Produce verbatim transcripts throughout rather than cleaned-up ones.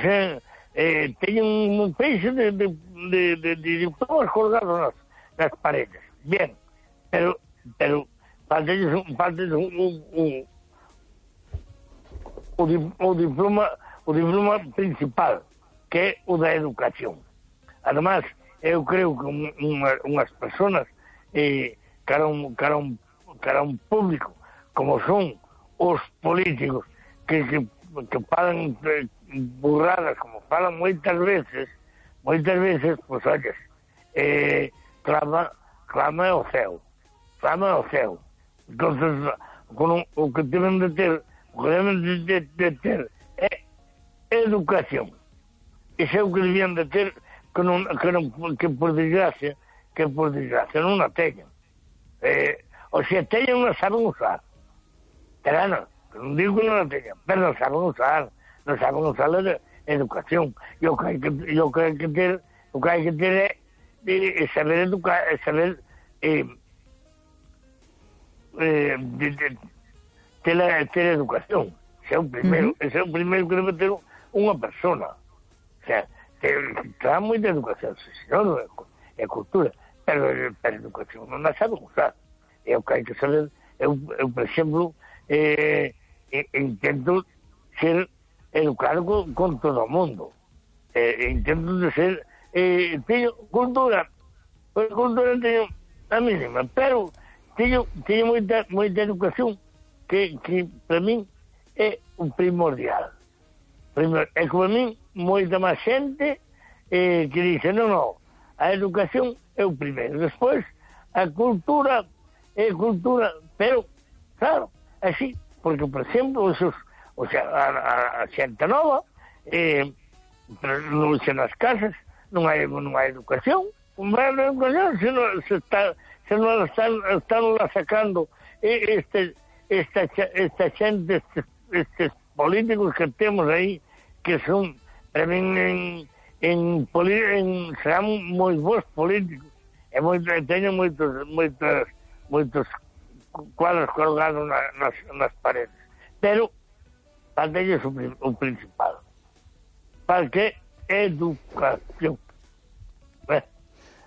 se, eh, teñen un peixe de, de, de, de, de diplomas colgados nas, nas paredes. Bien, pero, pero falta un, falta un, un, un o, di, o diploma o diploma principal, que é o da educación. Además, eu creo que unha, unhas personas eh, cara, un, cara, un, cara un público como son os políticos que, que, que falan eh, burradas como falan moitas veces moitas veces, pois olles eh, clama clama ao céu clama ao céu entonces con un, o que deben de ter o que deben de, de, de ter é educación. Iso é o que debían de ter que, non, que, non, que por desgracia que por desgracia non a teñen. Eh, o se teñen non saben usar. Pero non, non digo que non a teñen, pero non saben usar, non saben usar a educación. E o que hai que, o que hai que ter, o que hai que ter é, é saber educar, é saber eh, eh, de, de, ter, ter educación. Ese é o primeiro, uh -huh. ese é o primeiro que debe ter unha persona. O sea, está moita educación, senón, é cultura, pero, pero educación non a sabe usar. É o que hai que saber. Eu, eu por exemplo, eh, intento ser educado con, con todo o mundo. Eh, intento de ser... Eh, teño cultura, pues, cultura teño a mínima, pero teño, teño moita, moita educación que, que para min é un primordial. Primero, é que para min moita máis xente eh, que dice, non, non, a educación é o primeiro, despois a cultura é cultura, pero claro, así, porque por exemplo esos, o sea, a, a, a xente nova eh, non se nas casas non hai, non hai educación, non hai educación se non se está se non están, están la sacando este, esta, esta xente estes, estes políticos que temos aí que son para min en, en, en serán moi bons políticos e moito, teñen moitos moitos moitos cuadros colgados na, nas, nas paredes, pero falta ellos o, o principal, para que educación. Bueno,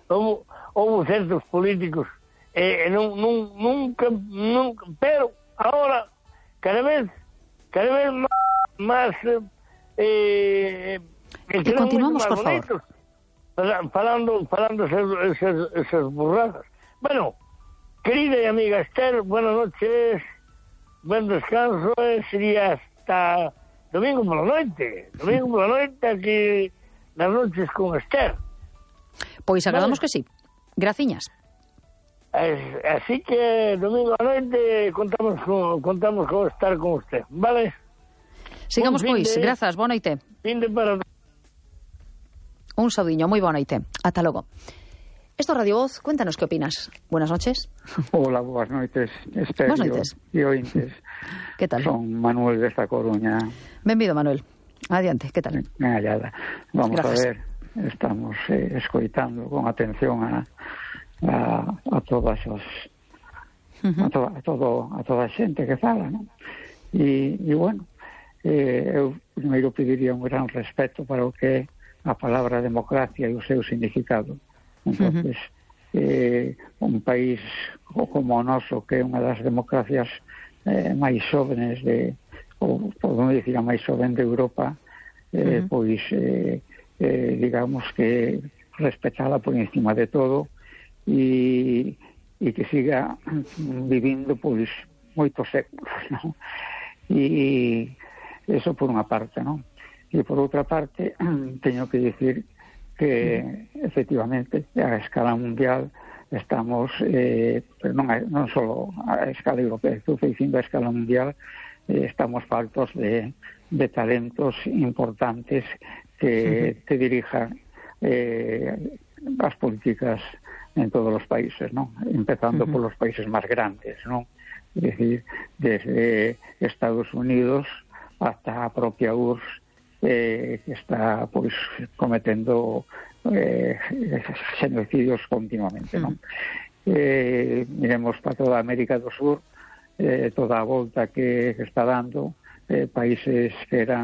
houve, houve certos políticos eh, non, non, nunca, nunca, pero ahora cada vez cada vez máis, máis eh, e continuamos, por favor, falando falando esas, esas, esas burradas. Bueno, querida y amiga Esther, buenas noches, buen descanso, eh, sería hasta domingo por la noche, domingo por la noche, aquí las noches con Esther. Pois agradamos vale. Que sí, graciñas. Así que domingo a noite contamos con, contamos con estar con usted, vale? Sigamos pois, de, grazas, boa noite. Fin de para... Un saudiño, moi boa noite, ata logo. Esto es Radio Voz, cuéntanos qué opinas. Buenas noches. Hola, buenas noites, Esther buenas noites. E ointes. Que tal? Son Manuel desta Coruña. Benvido, Manuel. Adiante, que tal? Ben hallada. Vamos Gracias. a ver, estamos eh, escoitando con atención a, a, a todas as uh -huh. a, to, a, todo, a toda a xente que fala, non? E, e bueno, eh, eu primeiro pediría un gran respeto para o que é a palabra democracia e o seu significado. Entonces, uh -huh. eh, un país como o noso, que é unha das democracias eh, máis xóvenes de, ou podemos dicir a máis xoven de Europa, eh, uh -huh. pois eh, eh, digamos que respetala por encima de todo e, e que siga vivindo pois moitos séculos, non? E eso por unha parte, non? E por outra parte teño que dicir que efectivamente a escala mundial estamos eh, pero non, a, non só a escala europea, estou dicindo a escala mundial, eh, estamos faltos de, de talentos importantes que uh-huh. te dirijan eh, as políticas en todos os países, non? Empezando uh-huh. por los países máis grandes, non? Es decir, desde Estados Unidos hasta a propia U R S S, Eh, que está pois cometendo eh, xenocidios continuamente, non? Mm. Eh, miremos para toda a América do Sur, eh, toda a volta que, que está dando, eh, países que eran